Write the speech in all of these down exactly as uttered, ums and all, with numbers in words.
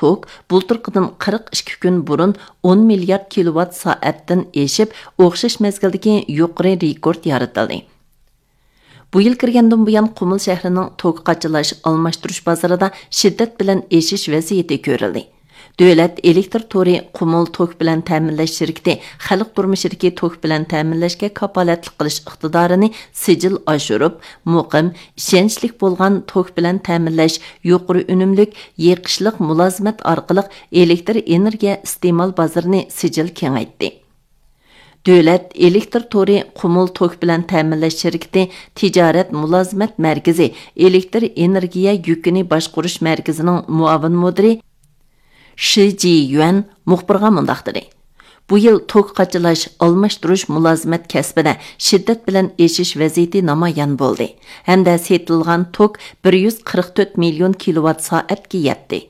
توك بۇلتۇرقىدىن قىرىق ئىككى كۈن بۇرۇن ئون مىليارد كىلوۋات سائەتتىن ئېشىپ، ئوخشاش مەزگىلدىكى يۇقىرى رېكورت يارىتىلدى. بۇ يىل كىرگەندىن بۇيان، قۇمۇل شەھىرىنىڭ توك قاچىلاش، ئالماشتۇرۇش بازىرىدا شىددەت بىلەن ئېشىش ۋەزىيىتى كۆرۈلدى. دۆلەت ئېلېكتر تورى قۇمۇل توك بىلەن تەمىنلەش شىركىتى خەلق تۇرمۇشىدىكى توك بىلەن تەمىنلەشكە كاپالەتلىك قىلىش ئىقتىدارىنى سىجىل ئاشۇرۇپ، مۇقىم، ئىشەنچلىك بولغان توك بىلەن تەمىنلەش، يۇقىرى ئۈنۈملۈك، يېقىشلىق مۇلازىمەت ئارقىلىق ئېلېكتر ئېنېرگىيە ئىستېمال بازىرىنى سىجىل كېڭەيتتى. دۆلەت ئېلېكتر تورى قۇمۇل توك بىلەن تەمىنلەش شىركىتى تىجارەت مۇلازىمەت مەركىزى ئېلېكتر ئېنېرگىيە يۈكىنى باشقۇرۇش مەركىزىنىڭ مۇئاۋىن مۇدىرى شى جىيۈەن مۇخبىرغا مۇنداق دېدى: بۇ يىل توك قاچىلاش، ئالماشتۇرۇش مۇلازىمەت كەسپىدە شىددەت بىلەن ئېشىش ۋەزىيىتى نامايان بولدى ھەمدە سېتىلغان توك بىر يۈز قىرىق تۆت مىليون كىلوۋات سائەتكە يەتتى.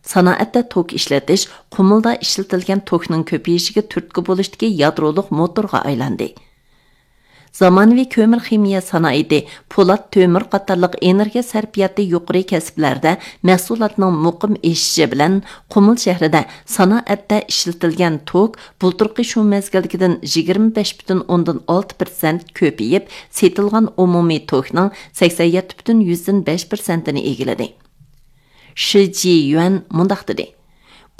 سانائەتتە توك ئىشلىتىش قۇمۇلدا ئىشلىتىلگەن توكنىڭ كۆپىيىشىگە تۈرتكە بولۇشتىكى يادرولۇق موتورغا ئايلاندى. زامانىۋى كۆمۈر خىمىيە سانائىتى، پولات، تۆمۈر قاتارلىق ئېنېرگىيە سەرپىياتى يۇقىرى كەسىپلەردە مەھسۇلاتنىڭ مۇقىم ئېشىشى بىلەن، قۇمۇل شەھىرىدە سانائەتتە ئىشلىتىلگەن توك بۇلتۇرقى شۇ مەزگىلدىكىدىن يىگىرمە بەش پۈتۈن ئوندىن ئالتە پىرسەنت كۆپىيىپ، سېتىلغان ئومۇمىي توكنىڭ سەكسەن يەتتە پۈتۈن يۈزدىن بەش پىرسەنتىنى ئىگىلىدى. شى جىيۈەن مۇنداق دېدى: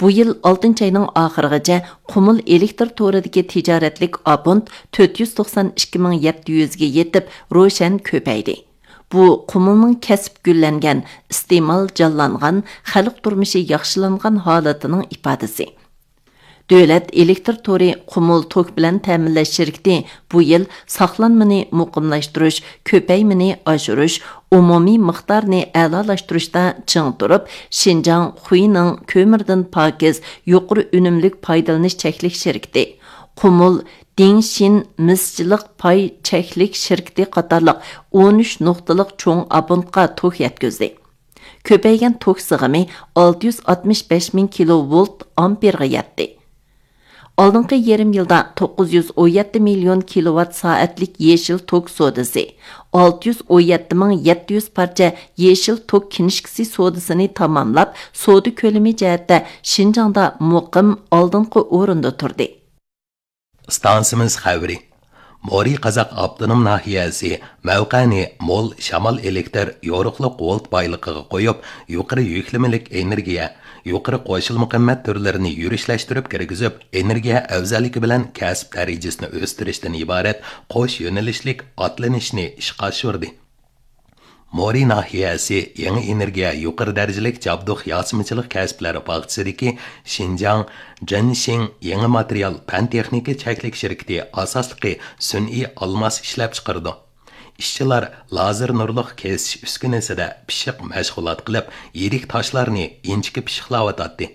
بۇ يىل ئالتىنچى ئاينىڭ ئاخىرىغىچە قۇمۇل ئېلېكتر تورىدىكى تىجارەتلىك ئابونت تۆت يۈز توقسان ئىككى مىڭ يەتتە يۈزگە يېتىپ، روشەن كۆپەيدى. بۇ قۇمۇلنىڭ كەسىپ گۈللەنگەن، ئىستېمال جانلانغان، خەلق تۇرمۇشى ياخشىلانغان ھالىتىنىڭ ئىپادىسى. دۆلەت ئېلېكتر تورى قۇمۇل توك بىلەن تەمىنلەش شىركىتى بۇ يىل ساقلانمىنى مۇقىملاشتۇرۇش، كۆپەيمىنى ئاشۇرۇش، ئومۇمىي مىقدارنى ئەلالاشتۇرۇشتا چىڭ تۇرۇپ، شىنجاڭ خۇينىڭ كۆمۈردىن پاكىز، يۇقىرى ئۈنۈملۈك پايدىلىنىش چەكلىك شىركىتى، قۇمۇل دىڭشىن مىسچىلىق پاي چەكلىك شىركىتى قاتارلىق ئون ئۈچ نۇقتىلىق چوڭ ئابونتقا توك يەتكۈزدى. كۆپەيگەن توك سىغىمى ئالتە يۈز ئاتمىش بەش مىڭ كىلوۋولت ئامپېرغا يەتتى. ئالدىنقى يېرىم يىلدا توققۇز يۈز ئون يەتتە مىليون كىلوۋات سائەتلىك يېشىل توك سودىسى، ئالتە يۈز ئون يەتتە مىڭ يەتتە يۈز پارچە يېشىل توك كىنىشكىسى سودىسىنى تاماملاپ، سودا كۆلىمى جەھەتتە شىنجاڭدا مۇقىم ئالدىنقى ئورۇندا تۇردى. ئىستانسىمىز خەۋىرى. مورى قازاق ئاپتونوم ناھىيەسى مەۋقەنى مول شامال ئېلېكتر يورۇقلۇق ۋولت بايلىقىغا قويۇپ، يۇقىرى يۈكلىمىلىك ئېنېرگىيە، يۇقىرى قوشۇلما قىممەت تۈرلىرىنى يۈرۈشلەشتۈرۈپ كىرگۈزۈپ، ئېنېرگىيە ئەۋزەللىكى بىلەن كەسىپ دەرىجىسىنى ئۆستۈرۈشتىن ئىبارەت قوش يۆنىلىشلىك ئاتلىنىشنى ئىشقا ئاشۇردى. مورى ناھىيەسى يېڭى ئېنېرگىيە يۇقىرى دەرىجىلىك جابدۇق ياسىمىچىلىق كەسىپلەر باغچىسىدىكى شىنجاڭ جېنشىڭ يېڭى ماتېرىيال پەن تېخنىكا چەكلىك شىركىتى ئاساسلىقى سۈنئىي ئالماس ئىشلەپچىقىرىدۇ. ئىشچىلار لازېر نۇرلۇق كېسىش ئۈسكۈنىسىدە پىششىق مەشغۇلات قىلىپ، يىرىك تاشلارنى ئىنچىكە پىششىقلاۋاتاتتى.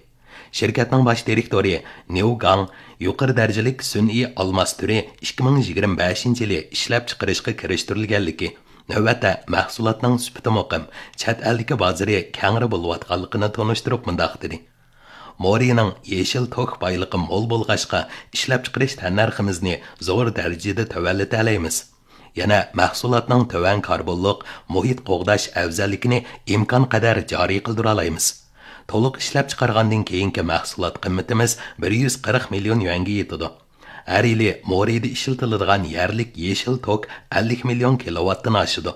شىركەتنىڭ باش دىرېكتورى نيۇ گاڭ يۇقىرى دەرىجىلىك سۈنئىي ئالماس تۈرى ئىككى مىڭ يىگىرمە بەشىنچى يىلى ئىشلەپچىقىرىشقا كىرىشتۈرۈلگەنلىكى، نۆۋەتتە مەھسۇلاتنىڭ سۈپىتى مۇقىم، چەت ئەلدىكى بازىرى كەڭرى بولۇۋاتقانلىقىنى تونۇشتۇرۇپ مۇنداق دېدى: مورىنىڭ يېشىل توك بايلىقى مول بولغاچقا، ئىشلەپچىقىرىش تەننەرخىمىزنى زور دەرىجىدە تۆۋەنلىتەلەيمىز. يەنە مەھسۇلاتنىڭ تۆۋەن كاربونلۇق، مۇھىت قوغداش ئەۋزەللىكىنى ئىمكانقەدەر جارى قىلدۇرالايمىز. تولۇق ئىشلەپچىقارغاندىن كېيىنكى مەھسۇلات قىممىتىمىز بىر يۈز قىرىق مىليون يۈەنگە يېتىدۇ. ھەر يىلى مورىدا ئىشلىتىلىدىغان يەرلىك يېشىل توك ئەللىك مىليون كىلوۋاتتىن ئاشىدۇ.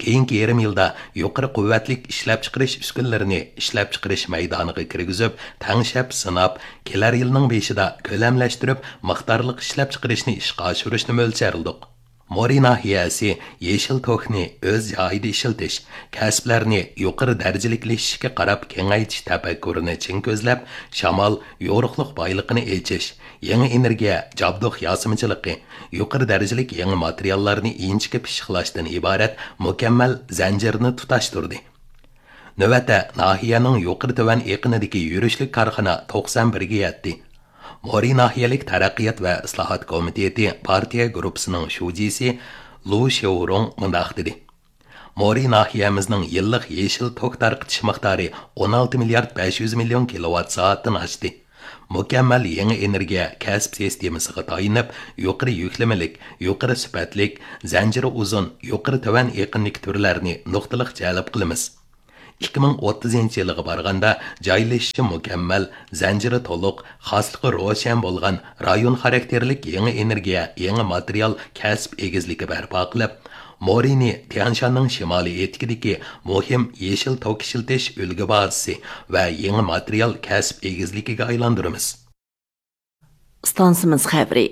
كېيىنكى يېرىم يىلدا يۇقىرى قۇۋۋەتلىك ئىشلەپچىقىرىش ئۈسكۈنىلىرىنى ئىشلەپچىقىرىش مەيدانىغا كىرگۈزۈپ، تەڭشەپ سىناپ، كېلەر يىلنىڭ بېشىدا كۆلەملەشتۈرۈپ، مىقدارلىق ئىشلەپچىقىرىشنى ئىشقا ئاشۇرۇشنى مۆلچەرلىدۇق. مورى ناھىيەسى يېشىل توكنى ئۆز جايىدا ئىشلىتىش، كەسىپلەرنى يۇقىرى دەرىجىلىكلىشىشكە قاراپ كېڭەيتىش تەپەككۇرىنى چىڭ كۆزلەپ، شامال، يورۇقلۇق بايلىقىنى ئېچىش، يېڭى ئېنېرگىيە، جابدۇق ياسىمىچىلىقى، يۇقىرى دەرىجىلىك يېڭى ماتېرىياللارنى ئىنچىكە پىششىقلاشتىن ئىبارەت مۇكەممەل زەنجىرنى تۇتاشتۇردى. نۆۋەتتە، ناھىيەنىڭ يۇقىرى تۆۋەن ئېقىنىدىكى يۈرۈشلۈك كارخانا توقسان بىرگە يەتتى. مورى ناھىيەلىك تەرەققىيات ۋە ئىسلاھات كومىتېتى پارتىيە گۇرۇپپىسىنىڭ شۇجىسى لۇ شياۋرۇڭ مۇنداق دېدى: مورى ناھىيەمىزنىڭ يىللىق يېشىل توك تارقىتىش مىقدارى ئون ئالتە مىليارد بەش يۈز مىليون كىلوۋات سائەتتىن ئاشتى. مۇكەممەل يېڭى ئېنېرگىيە كەسىپ سىستېمىسىغا تايىنىپ، يۇقىرى يۈكلىمىلىك، يۇقىرى سۈپەتلىك، زەنجىرى ئۇزۇن، يۇقىرى تۆۋەن ئېقىندىكى تۈرلەرنى نۇقتىلىق جەلپ قىلىمىز. ئىككى مىڭ ئوتتۇزىنچى يىلىغا بارغاندا، جايلىشىشى مۇكەممەل، زەنجىرى تولۇق، خاسلىقى روشەن بولغان رايون خاراكتېرلىك يېڭى ئېنېرگىيە، يېڭى ماتېرىيال كەسىپ ئېگىزلىكى بەرپا قىلىپ، مورىنى تيەنشاننىڭ شىمالىي ئېتىكىدىكى مۇھىم يېشىل توك ئىشلىتىش ئۈلگە بازىسى ۋە يېڭى ماتېرىيال كەسىپ ئېگىزلىكىگە ئايلاندۇرىمىز. ئىستانسىمىز خەۋىرى.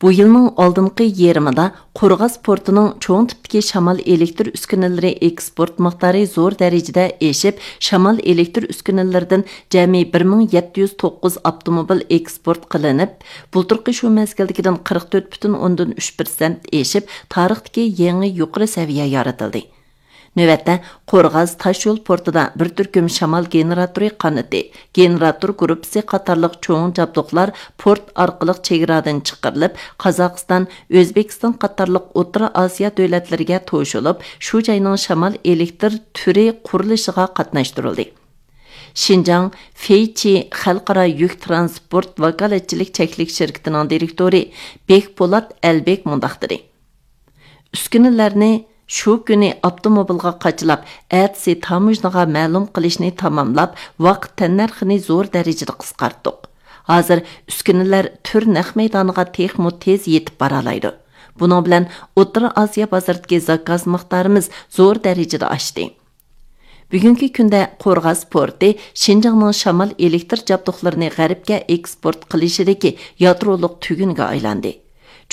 بۇ يىلنىڭ ئالدىنقى يېرىمىدا قورغاس پورتىنىڭ چوڭ تىپتىكى شامال ئېلېكتر ئۈسكۈنىلىرى ئېكسپورت مىقدارى زور دەرىجىدە ئېشىپ، شامال ئېلېكتر ئۈسكۈنىلىرىدىن جەمئىي بىر مىڭ يەتتە يۈز توققۇز ئاپتوموبىل ئېكسپورت قىلىنىپ، بۇلتۇرقى شۇ مەزگىلدىكىدىن قىرىق تۆت پۈتۈن ئوندىن ئۈچ پىرسەنت ئېشىپ، تارىختىكى يېڭى يۇقىرى سەۋىيە يارىتىلدى. نۆۋەتتە، قورغاس تاشيول پورتىدا بىر تۈركۈم شامال گېنېراتورى قانىتى، گېنېراتور گۇرۇپپىسى قاتارلىق چوڭ جابدۇقلار پورت ئارقىلىق چېگرادىن چىقىرىلىپ، قازاقىستان، ئۆزبېكىستان قاتارلىق ئوتتۇرا ئاسىيا دۆلەتلىرىگە توشۇلۇپ، شۇ جاينىڭ شامال ئېلېكتر تۈرى قۇرۇلۇشىغا قاتناشتۇرۇلدى. شىنجاڭ فېيچى خەلقئارا يۈك تىرانسپورت ۋاكالەتچىلىك چەكلىك شىركىتىنىڭ دىرېكتورى بېكپولات ئەلبېك مۇنداق دېدى. ئۈسكۈنىلەرنى شۇ كۈنى ئاپتوموبىلغا قاچىلاپ، ئەتىسى تاموژنىغا مەلۇم قىلىشنى تاماملاپ، ۋاقىت تەننەرخىنى زور دەرىجىدە قىسقارتتۇق. ھازىر ئۈسكۈنىلەر تۈر نەق مەيدانىغا تېخىمۇ تېز يېتىپ بارالايدۇ. بۇنىڭ بىلەن ئوتتۇرا ئاسىيا بازىرىدىكى زاكاز مىقدارىمىز زور دەرىجىدە ئاشتى. بۈگۈنكى كۈندە قورغاس پورتى شىنجاڭنىڭ شامال ئېلېكتر جابدۇقلىرىنى غەربكە ئېكسپورت قىلىشىدىكى يادرولۇق تۈگۈنگە ئايلاندى.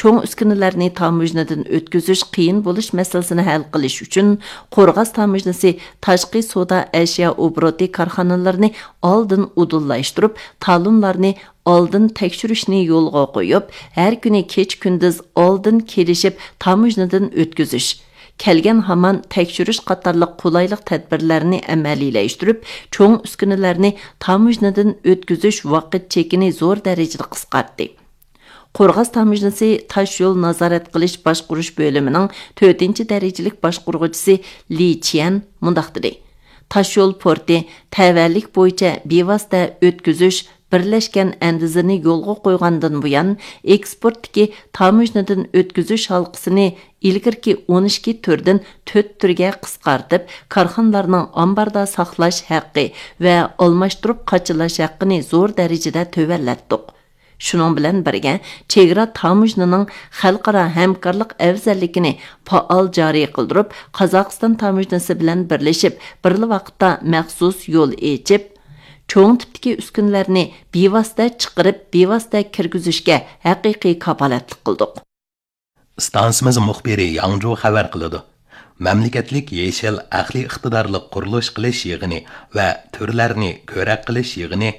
چوڭ ئۈسكۈنىلەرنى تاموژنىدىن ئۆتكۈزۈش قىيىن بولۇش مەسىلىسىنى ھەل قىلىش ئۈچۈن، قورغاس تاموژنىسى تاشقى سودا ئەشيا ئوبوروتى كارخانىلىرىنى ئالدىن ئۇدۇللاشتۇرۇپ، تالونلارنى ئالدىن تەكشۈرۈشنى يولغا قويۇپ، ھەر كۈنى كېچە-كۈندۈز ئالدىن كېلىشىپ تاموژنىدىن ئۆتكۈزۈش، كەلگەن ھامان تەكشۈرۈش قاتارلىق قولايلىق تەدبىرلەرنى ئەمەلىيلەشتۈرۈپ، چوڭ ئۈسكۈنىلەرنى تاموژنىدىن ئۆتكۈزۈش ۋاقىت چېكىنى زور دەرىجىدە قىسقارتتى. قورغاس تاموژنىسى تاش يول نازارەت قىلىش باشقۇرۇش بۆلۈمىنىڭ تۆتىنچى دەرىجىلىك باشقۇرغۇچىسى لى چيەن مۇنداق دېدى: تاش يول پورتى تەۋەلىك بويىچە بىۋاسىتە ئۆتكۈزۈش بىرلەشكەن ئەندىزىنى يولغا قويغاندىن بۇيان، ئېكسپورتتىكى تاموژنىدىن ئۆتكۈزۈش ھالقىسىنى ئىلگىرىكى ئون ئىككى تۈردىن تۆت تۈرگە قىسقارتىپ، كارخانىلارنىڭ ئامباردا ساقلاش ھەققى ۋە ئالماشتۇرۇپ قاچىلاش ھەققىنى زور دەرىجىدە تۆۋەنلەتتۇق. شۇنىڭ بىلەن بىرگە، چېگرا تاموژنىنىڭ خەلقئارا ھەمكارلىق ئەۋزەللىكىنى پائال جارى قىلدۇرۇپ، قازاقىستان تاموژنىسى بىلەن بىرلىشىپ، بىرلا ۋاقىتتا مەخسۇس يول ئېچىپ، چوڭ تىپتىكى ئۈسكۈنىلەرنى بىۋاسىتە چىقىرىپ، بىۋاسىتە كىرگۈزۈشكە ھەقىقىي كاپالەتلىك قىلدۇق. ئىستانسىمىز مۇخبىرى ياڭجۇ خەۋەر قىلىدۇ. مەملىكەتلىك يېشىل ئەقلىي ئىقتىدارلىق قۇرۇلۇش قىلىش يىغىنى ۋە تۈرلەرنى كۆرەك قىلىش يىغىنى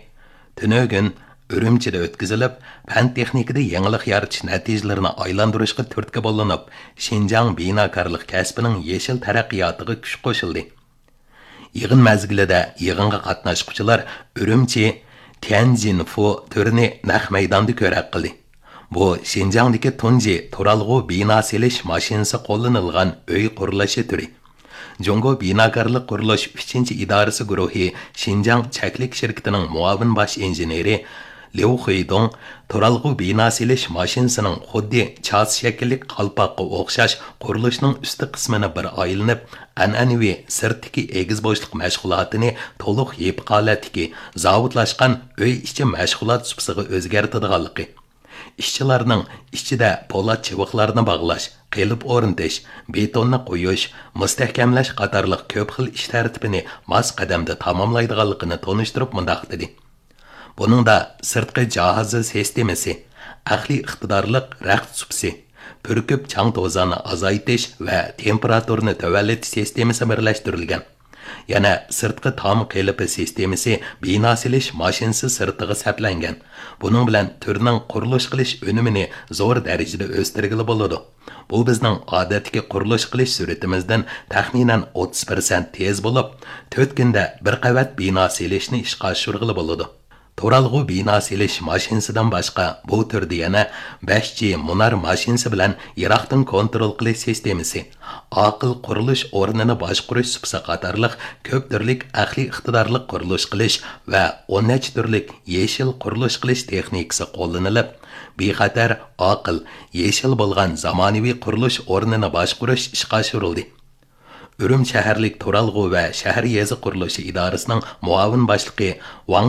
تۈنۈگۈن ئۈرۈمچىدە ئۆتكۈزۈلۈپ، پەن تېخنىكىدا يېڭىلىق يارىتىش نەتىجىلىرىنى ئايلاندۇرۇشقا تۈرتكە بولۇنۇپ، شىنجاڭ بىناكارلىق كەسپىنىڭ يېشىل تەرەققىياتىغا كۈچ قوشۇلدى. يىغىن مەزگىلىدە يىغىنغا قاتناشقۇچىلار ئۈرۈمچى تيەنجىنفۇ تۈرىنى نەق مەيداندا كۆرەك قىلدى. بۇ شىنجاڭدىكى تۇنجى تۇرالغۇ بىنا سېلىش ماشىنىسى قوللىنىلغان ئۆي قۇرۇلۇشى تۈرى. جۇڭگو بىناكارلىق قۇرۇلۇش ئۈچىنچى ئىدارىسى گۇرۇھى شىنجاڭ چەكلىك شىركىتىنىڭ مۇئاۋىن باش ئىنژېنېرى ليۇ خۇيدۇڭ تۇرالغۇ بىنا سېلىش ماشىنىسىنىڭ خۇددى چاس شەكىللىك قالپاققا ئوخشاش قۇرۇلۇشنىڭ ئۈستى قىسمىنى بىر ئايلىنىپ، ئەنئەنىۋى سىرتتىكى ئېگىز بوشلۇق مەشغۇلاتىنى تولۇق يېپىق ھالەتتىكى زاۋۇتلاشقان ئۆي ئىچى مەشغۇلات سۇپىسىغا ئۆزگەرتىدىغانلىقى، ئىشچىلارنىڭ ئىچىدە پولات چىۋىقلارنى باغلاش، قېلىپ ئورنىتىش، بېتوننى قويۇش، مۇستەھكەملەش قاتارلىق كۆپ خىل ئىش تەرتىپىنى ماس قەدەمدە تاماملايدىغانلىقىنى تونۇشتۇرۇپ مۇنداق دېدى: بۇنىڭدا سىرتقى جاھازى سىستېمىسى، ئەقلىي ئىقتىدارلىق رەخت سۇپىسى، پۈركۈپ چاڭ توزاننى ئازايتىش ۋە تېمپېراتۇرىنى تۆۋەنلىتىش سىستېمىسى بىرلەشتۈرۈلگەن. يەنە سىرتقى تام قېلىپى سىستېمىسى بىنا سېلىش ماشىنىسى سىرتىغا سەپلەنگەن. بۇنىڭ بىلەن تۈرنىڭ قۇرۇلۇش قىلىش ئۈنۈمىنى زور دەرىجىدە ئۆستۈرگىلى بولىدۇ. بۇ بىزنىڭ ئادەتتىكى قۇرۇلۇش قىلىش سۈرئىتىمىزدىن تەخمىنەن ئوتتۇز پىرسەنت تېز بولۇپ، تۆت كۈندە بىر قەۋەت بىنا سېلىشنى ئىشقا ئاشۇرغىلى بولىدۇ. تۇرالغۇ بىنا سېلىش ماشىنىسىدىن باشقا، بۇ تۈردە يەنە بەش جى مۇنار ماشىنىسى بىلەن يىراقتىن كونترول قىلىش سىستېمىسى، ئاقىل قۇرۇلۇش ئورنىنى باشقۇرۇش سۇپىسى قاتارلىق كۆپ تۈرلۈك ئەقلىي ئىقتىدارلىق قۇرۇلۇش قىلىش ۋە ئون نەچچە تۈرلۈك يېشىل قۇرۇلۇش قىلىش تېخنىكىسى قوللىنىلىپ، بىخەتەر، ئاقىل، يېشىل بولغان زامانىۋى قۇرۇلۇش ئورنىنى باشقۇرۇش ئىشقا ئاشۇرۇلدى. ئۈرۈمچى شەھەرلىك تۇرالغۇ ۋە شەھەر يېزا قۇرۇلۇشى ئىدارىسىنىڭ مۇئاۋىن باشلىقى ۋاڭ